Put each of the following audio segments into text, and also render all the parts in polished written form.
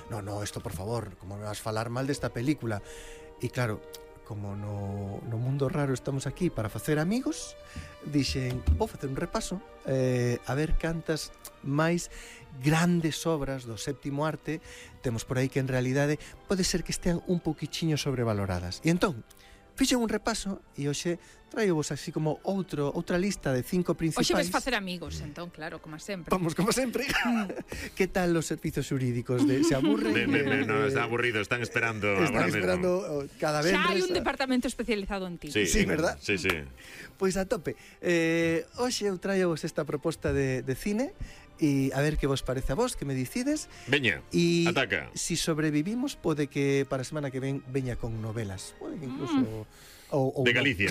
no, isto por favor, como me vas falar mal desta película? E claro, como no mundo raro estamos aquí para facer amigos, dixen, vou facer un repaso a ver cantas máis grandes obras do séptimo arte temos por aí que en realidade pode ser que estean un poquichiño sobrevaloradas. E entón, fixen un repaso e hoxe traio vos así como outra lista de 5 principais. Hoxe ves facer amigos, entón, claro, como sempre. Vamos, como sempre. Que tal os servizos xurídicos? Se aburren? No, está aburrido, están esperando. Están esperando cada vez. Xa hai un departamento especializado en ti. Sí, verdad? Sí. Pois a tope. Hoxe eu traio vos esta proposta de cine e a ver que vos parece a vos, que me decides. Veña, ataca. Si sobrevivimos, pode que para a semana que ven veña con novelas. Pode que incluso... de Galicia,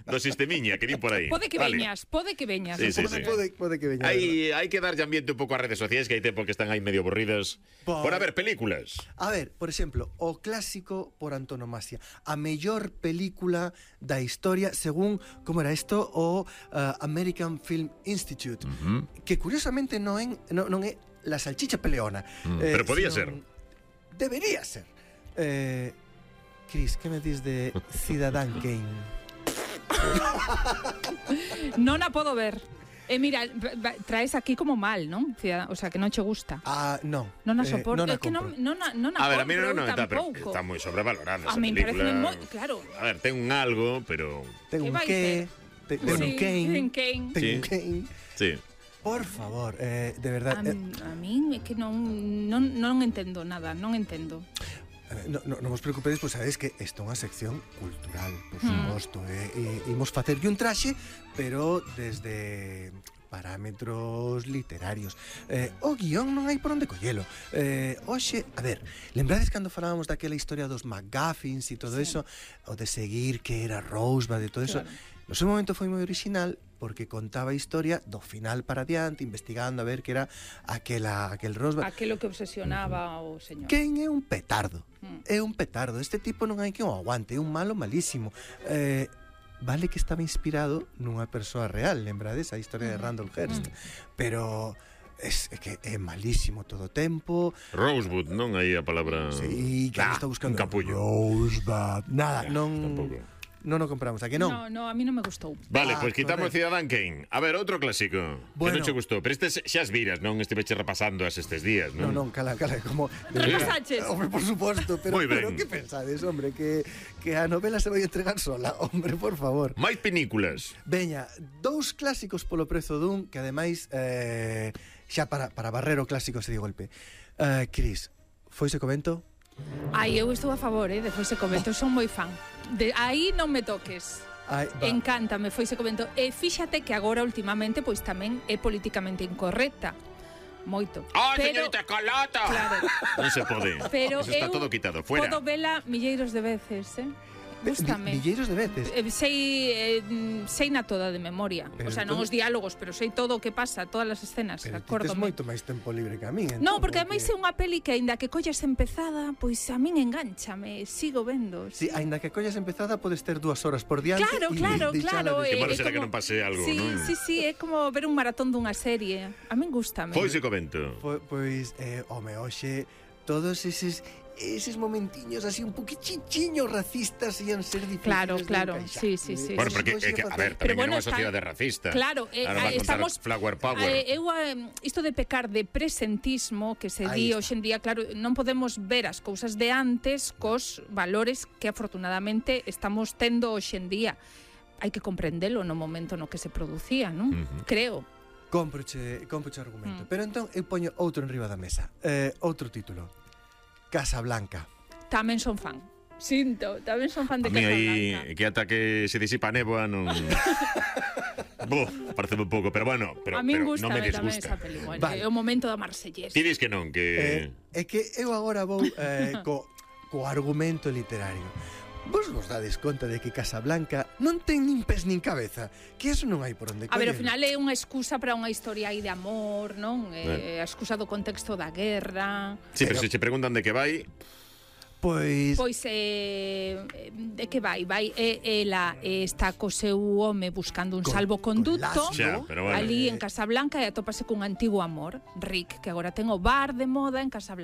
do sistemiña, que din por aí. Pode que veñas. Sí. Pode que veña. Hai que darlle ambiente un pouco ás redes sociais, que hai tempo que están aí medio aburridas. Por haber películas. A ver, por exemplo, o clásico por antonomasia, a mellor película da historia según, como era isto, o American Film Institute, que curiosamente non é La Salchicha Peleona. Pero podía ser. Debería ser. Cris, que me dis de Ciudadán Kane? Non a podo ver. Mira, traes aquí como mal, non? O sea, que non che gusta. Non. Non a soporto. Non a É que non a A ver, a mí compro non está, pero tampouco. está moi sobrevalorada esa A mí me parece película. moi... Claro. A ver, ten un algo, pero... Ten un vai que, ten un Kane. Ten un Kane. Sí. Por favor, de verdad. A mí é que non entendo nada, non entendo. Non vos preocupedes, pois sabedes que esta é unha sección cultural, por suposto, imos facerlle un traxe, pero desde parámetros literarios. O guión non hai por onde collelo. Hoxe, a ver, lembrades cando falábamos daquela historia dos McGuffins e todo eso, o de seguir que era Rosebud e todo eso? No seu momento foi moi original porque contaba a historia do final para adiante, investigando a ver que era aquel Rosebud. Aquelo que obsesionaba o señor. Quen é un petardo? É un petardo. Este tipo non hai que o aguante, é un malo malísimo. Vale que estaba inspirado nunha persoa real, lembrades a historia de Randall Hearst, pero é que é malísimo todo o tempo. Rosebud, non hai a palabra... Sí, que está buscando un capullo. Rosebud. Nada, non... Tampouco. Non o compramos, a que non? No, a mí non me gustou. Vale, pois quitamos Ciudadán Kane. A ver, outro clásico. Bueno. Que non che gustou. Pero estes xa as viras, non estiveche repasando estes días, non? Non, cala, como... Repasaches? Hombre, por suposto, pero que pensades, hombre, que a novela se vai entregar sola, hombre, por favor. Máis pinículas. Veña, 2 clásicos polo prezo dun, que ademais, xa para barrer o clásico se di golpe. Cris, foise co vento? Ai, eu estou a favor, de Foise co vento, son moi fan. Aí non me toques. Encántame Foise co vento. E fíxate que agora últimamente pois tamén é políticamente incorrecta. Moito. Señorita Calata! Claro. Non se pode. Pero eso está todo quitado, fuera. Podo vela milleiros de veces, Gústame. Milleiros de veces. Sei na toda de memoria. Pero o sea, non os diálogos, pero sei todo o que pasa, todas as escenas. Pero ti tes moito máis tempo libre que a min. Non, porque ademais é unha peli que aínda que collas empezada, pois a min engánchame, sigo vendo. Sí, aínda que collas empezada podes ter 2 horas por diante. Claro. Que malo será que non pase algo, non? Sí, é como ver un maratón dunha serie. A min gústame. Foise co vento. Pois, home, hoxe todos eses momentiños así un poquichiño racistas ian ser difíciles Claro, de sí. Bueno, porque, a ver, tamén é unha sociedade racista. Claro, estamos Flower Power. Isto de pecar de presentismo que se di hoxe en día, claro, non podemos ver as cousas de antes cos valores que afortunadamente estamos tendo hoxe en día. Hai que comprendelo no momento no que se producía, non? Creo. Cómproche argumento. Pero entón eu poño outro enriba da mesa. Outro título. Casablanca. Tamén son fan. Sinto, tamén son fan de Casablanca. A mí aí, que ata que se disipa a néboa, non... parece un pouco, pero bueno, pero a min non me tamén disgusta. esa peli, bueno, vale. É o momento da Marsellesa. Ti dis que non, que... É que eu agora vou co argumento literario. Vos dades conta de que Casablanca non ten nin pés nin cabeza, que eso non hai por onde coller. A ver, ao final é unha excusa para unha historia aí de amor, non? A excusa do contexto da guerra. Sí, pero se che preguntan de que vai... Pois de que vai? Ela está co seu home buscando un salvoconduto ali en Casablanca e atópase cun antigo amor, Rick, que agora ten o bar de moda en Casablanca.